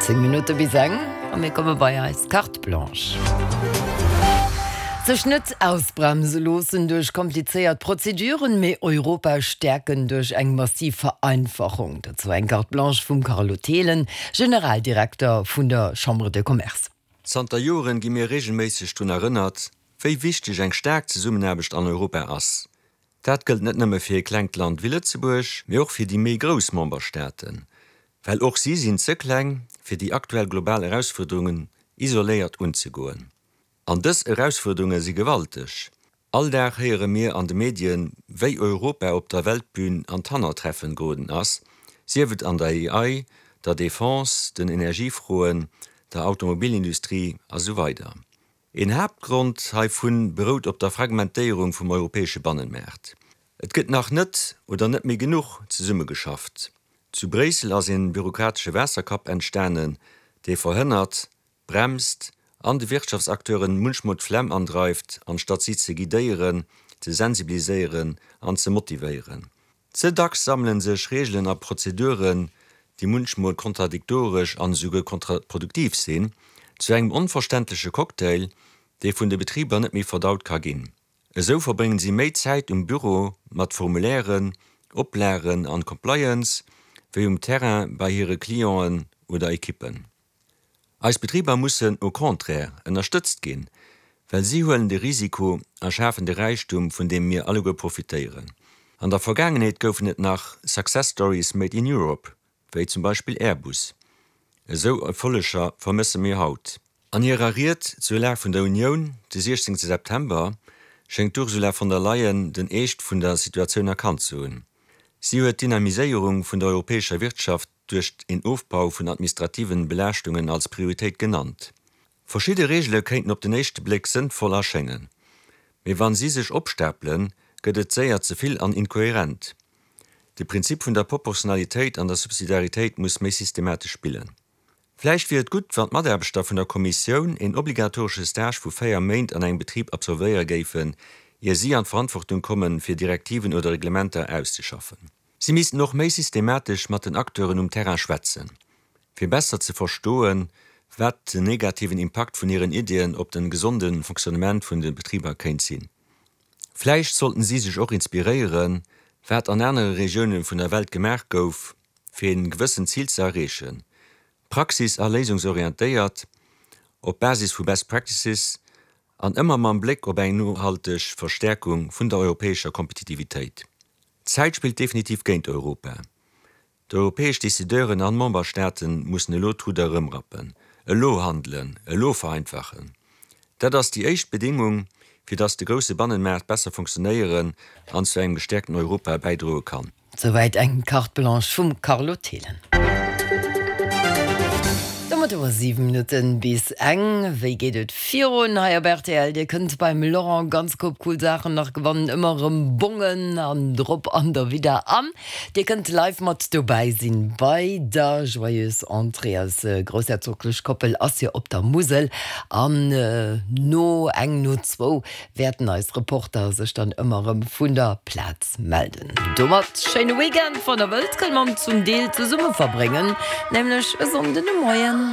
10 Minutte bis eng a mir komme bei eis Carte Blanche. Sech net ausbremse loossen duerch komplizéiert Prozeduren, mee Europa stäerken duerch eng massiv Vereinfachung. Dozou eng Carte Blanche vum Carlo Thelen, Generaldirekter vun der Chambre de Commerce. Zanter Joren gi mir reegelméisseg drun erënnert, wéi wichteg eng staark Zesummenaarbecht an Europa ass. Dat gëllt net nëmme fir e klengt Land wéi Lëtzebuerg, mee och fir déi méi grouss Memberstaaten, well och si sinn ze kleng, fir déi aktuell global Erausfuerderungen isoléiert unzegoen. An dës Erausfuerderunge si gewalteg. All Dag héiere mir an de Medien, wéi Europa op der Weltbün an d'Hannertreffen geroden ass, sief et an der AI, der Defense, den Energiefroen, der Automobilindustrie a sou weider. Een Haaptgrond heivun berout op der Fragmentéierung vum europäesche Bannenmaart. Et gëtt nach net oder net méi genuch zesummegeschafft. Zu Bréissel ass een bürokratesche Waasserkapp entstanen, dee verhënnert, bremst an de Wirtschaftsacteuren munchmol d'Flemm andreift, anstatt si ze guidéieren, ze sensibiliséieren an ze motivéieren. Ze dacks sammele sech Reegelen a Prozeduren, déi munchmol kontradiktoresch an esouguer kontraproduktiv sinn, zu engem onverständleche Cocktail, dee vun de Betriber net méi verdaut ka ginn. Esou verbréngen si méi Zäit um Büro mat Formulairen, Oplagen an Compliance, wéi um Terrain bei hire Clienten oder Ekippen. Eis Betriber mussen au contraire ënnerstëtzt ginn, well si huelen de Risiko a schafen de Räichtum, vun deem mir alleguer profitéieren. An der Vergaangenheet goufen et nach Success Stories made in Europe, wéi zum Beispill Airbus. Esou Erfolleger vermësse mir haut. An hirer Ried zur Lag vun der Unioun de 16 September schéngt d'Ursula von der Leyen den Eescht vun der Situatioun erkannt ze hunn. Si huet d'Dynamiséierung vun der europäescher Wirtschaft duerch een Ofbau vun administrativen Belaaschtungen als Prioritéit genannt. Verschidde Reegele kéinten op den éischte Bléck sënnvoll erschéngen, mee wann si sech opstapelen, gëtt et séier ze vill an inkoherent. De Prinzip vun der Proportionalitéit an der Subsidiaritéit muss méi systematesch spillen. Vläicht wier et gutt, wann d'Mataarbechter vun der Kommissioun een obligatoresche Stage vu 4 Méint an engem Betrib absolvéiere géifen, ier si an d'Verantwortung kommen, fir Direktiven oder Reglementer auszeschaffen. Si missten och méi systematesch mat den Acteuren um Terrain schwätzen, fir besser ze verstoen, wat den negativen Impakt vun hiren Iddien op den gesonde Fonctionnement vun de Betriber kéint sinn. Vläicht sollten si sech och inspiréieren, wat an anere Regioune vun der Welt gemaach gouf, fir een gewëssent Zil ze erreechen, praxis a léisungsorientéiert, op Basis vu Best Practices an ëmmer mam Bléck op eng nohalteg Verstäerkung vun der europäescher Kompetitivitéit. D'Zäit spillt definitiv géint Europa. D'europäesch Decideuren an Memberstaaten mussen elo d'Rudder erëmrappen, elo handelen, elo vereinfachen. Dat ass déi éischt Bedingung, fir datt de grousse Bannenmaart besser funktionéieren an zu engem gestäerkten Europa bäidroe kann. Souwäit eng Carte Blanche vum Carlo Thelen. Domat hu mer 7 Minutten bis eng. Wéi geet et virun hei op rtl? Dir kënnt beim Laurent ganz koup cool Saachen nach gewannen, ëmmer erëm Bongen an drop an derwidder. An dir kënnt live mat dobäi sinn bei der Joyeuse Entrée. Eis groussherzoglech Koppel ass jo op der Musel an no eng no zwou wäerten eis Reporter sech dann ëmmer erëm vun der Plaz melden. Domat schéine Weekend, wann der wëllt, kënne mer en zum Deel zesumme verbréngen, nämlech e Sonnden de Moien.